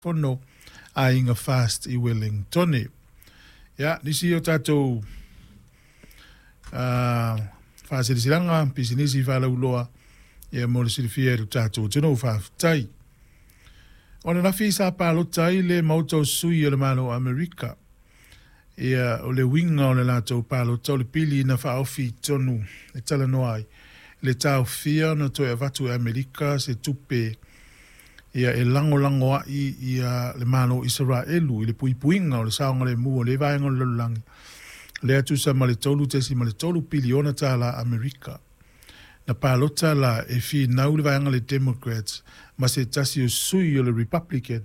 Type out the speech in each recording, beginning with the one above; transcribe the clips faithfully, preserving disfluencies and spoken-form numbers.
Fono Aiga Fast i Wellingtone. Ia, nisi o tatou uh, faasilasilaga pisinisi faalauiloa, ia mo le silafia e le tatou atunuu. Faafetai. O le lafi sa palota ai le Maota o Sui o le Malo o Amerika. Ia, o le uiga o le latou palota o le pili na faaofi i totonu e talanoa ai le taofia ona toe avatu e Amerika se tupe ia e lagolago ai ia le Malo o Isaraelu i le puipuiga o le saogalemu o le vaega o le lalolagi lea tusa ma le tolu ma le tolu piliona tala Amerika. Na palota la e finau le vaega le Democrats ma se tasi o sui o le Republican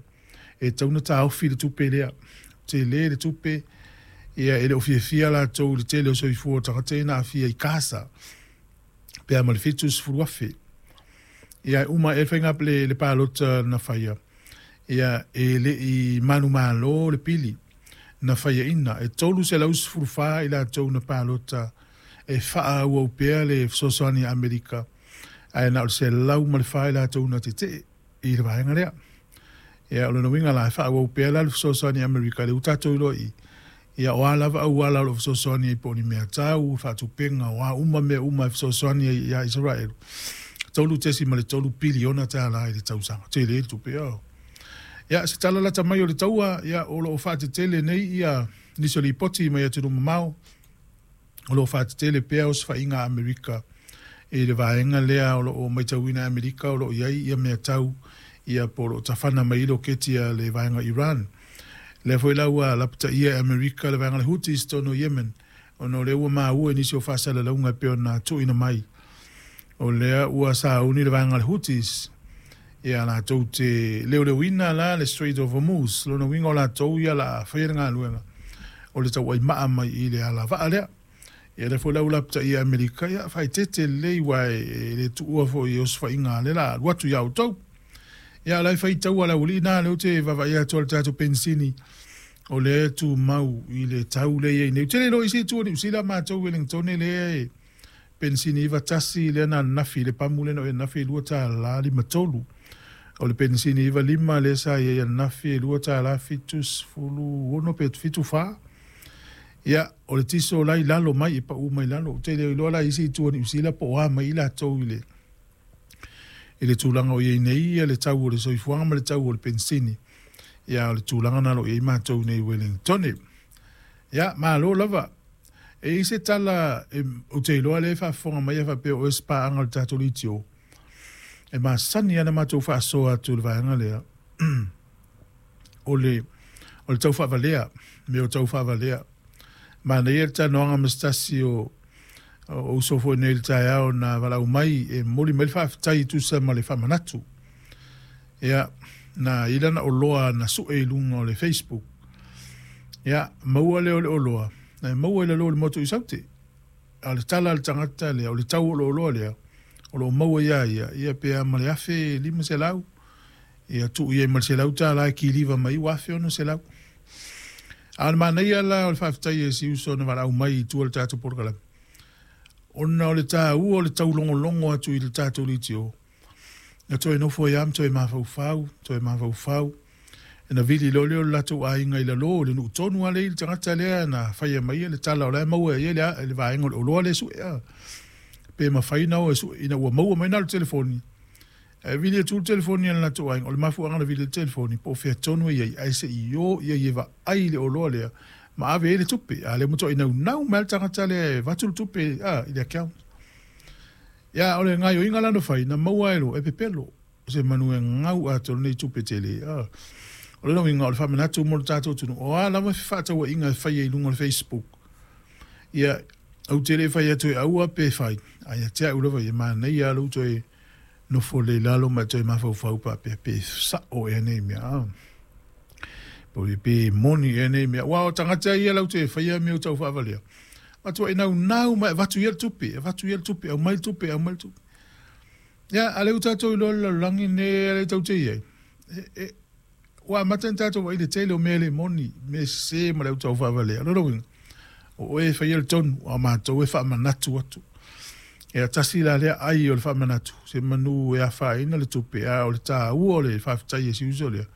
e tauna taofi le tupe lea. Tele le tupe, ia e le o fiafia latou i le tele o soifua o tagata ia na aafia i Kasa pe a ma le fitu sefulu afe. Ia uma e faiga le, le palota na faia, ia e le i manumalo le pili na faiaina e tolu selau sefulu fa i latou na palota e faaauau pea le fesoasoani a Amerika, ae na o le selau ma le fa i latou na tetee i le vaega lea. Ia o lona uiga la e faaauau pea la le fesoasoani a Amerika le ua tatou iloa i ia o a lava auala o lo o fesoasoani ai po o ni mea tau faatupega o a uma mea uma e fesoasoani ai ia Israel. Tolu tesi ma le tolu piliona tala i le tausaga. Tele le tupe o. Ia, se tala lata mai o le taua, ia o lo o faatetele nei ia nisi o lipoti mai atunuu mamao. O lo o faatetele pea osofaiga a Amerika i le vaega lea o lo o matauina Amerika o lo o i ai ia mea tau ia po o lo o tafana mai i loketi a le vaega Iran. Lea foi la ua lapataia e Amerika le vaega le Houthis tonu o Yemen, ona o lea ua maua i nisi o faasalalauga e pei ona tuuina mai. O lea ua sauni le vaega le Houthis ia latou te leoleoina la le Strait of Hormuz. Lona uiga o latou ia la faia le galuega o le tauaimaa mai i le alavaa lea. Ia lea foi la ua lapataia e Amerika, ia faaeteete lelei ua e le tuua foi i osofaiga lea la alu atu ia outou. Ia la e faitau a le aualii na lea ou te vaavaai atu o le tatou penisini o lea e tumau i le tau lea i ai nei. Ou te le iloa i se itu o Niu Sila, matou Wellingtone lea e penisini iva tasi lea na ananafi le pamu lea na o ananafi e lua tala lima tolu. O le penisini iva lima lea sa i ai ananafi e lua tala fitu sefulu ono pe fitu fa. Ia, o le tiso la i lalo mai e pau mai lalo. Ou te le iloa la i isi itu o Niu Sila po o a mai i latou i le i le tulaga o i ai nei ia le tau o le soifuaga ma le tau o le penisini. Ia o le tulaga na lo i ai matou nei i Wellingtone. Ia, malo lava. E i se tala e, ou te iloa lea e faafofoga mai e faapea o se paaga o le tatou leitio. E masani ana matou faasoa atu i le vaega lea. o le o le tau faavalea, mea o tau faavalea. Manaia le talanoaga ma se tasi o o uso foi nei i le taeao na valaau mai e momoli mai le faafetai e tusa ma le faamanatu. Ia, na i lana oloa na sue i luga o le Facebook. Ia, maua lea o le oloa, na e maua i lalo o le motu i Saute. A o le tala a le tagata lea, o le tau o le oloa lea, o lo o maua ia ia, ia pe a ma le afe lima selau, ia tuu i ai ma le selau tala e kiliva mai ua afe ono selau. A o le manaia la o le faafetai e si uso na valaau mai i tua o le tatou polokalame. Ona o le taua o le taulogologo atu i le tatou leitio, na toe nofo ai lava ma toe mafaufau, toe mafaufau. E na vili loa lea o le latou aiga i lalo o le nuu tonu lava lea i le tagata lea na faia mai le tala o la e maua e ai le, le vaega o le oloa lea e sue. A. Pe mafai na o e sue ina ua maua mai na o le telefoni. Ae vili atu le telefoni a le latou aiga, o le mafuaaga na vili le telefoni, po o fea tonu e i ai, ae se i o ia i e vaai le oloa lea, ma ave ai le tupe. A lea matuai naunau mai le tagata lea e avatu le tupe a, i le account. Ia, o le gaoioiga la na fai, na maua ai lo e pepelo. Se manu e gau atoa lenei tupe tele. A. O le uiga o le faamanatu mo le tatou atunuu. O a lava fefaatauaiga e faia i luga o le Facebook. Ia, ou te le fai atu e aua pe fai. Ae ia te au lava ia manaia lou toe nofo le lalo ma toe mafaufau faapea pe sao ea nei mea. A. Po pe moni ea nei mea. Ua o tagata ia lau te faia mea o tau faavalea. Matuai naunau mai avatu ia le tupe, avatu ia le tupe, aumai le tupe, aumai le tupe. Ia, a lea ua tatou iloa le lalolagi nei a le tau te i ai. E, e, ua amata ona tatou vaai i le tele o mea le moni, mea sese ma le au tau faavalea. O lona uiga, o oe e faia le tonu, a matou e faamanatu atu. Ia tasi la lea ai o le faamanatu, se manu e afaina le tupe, a o le taua o le faafetai e si uso lea.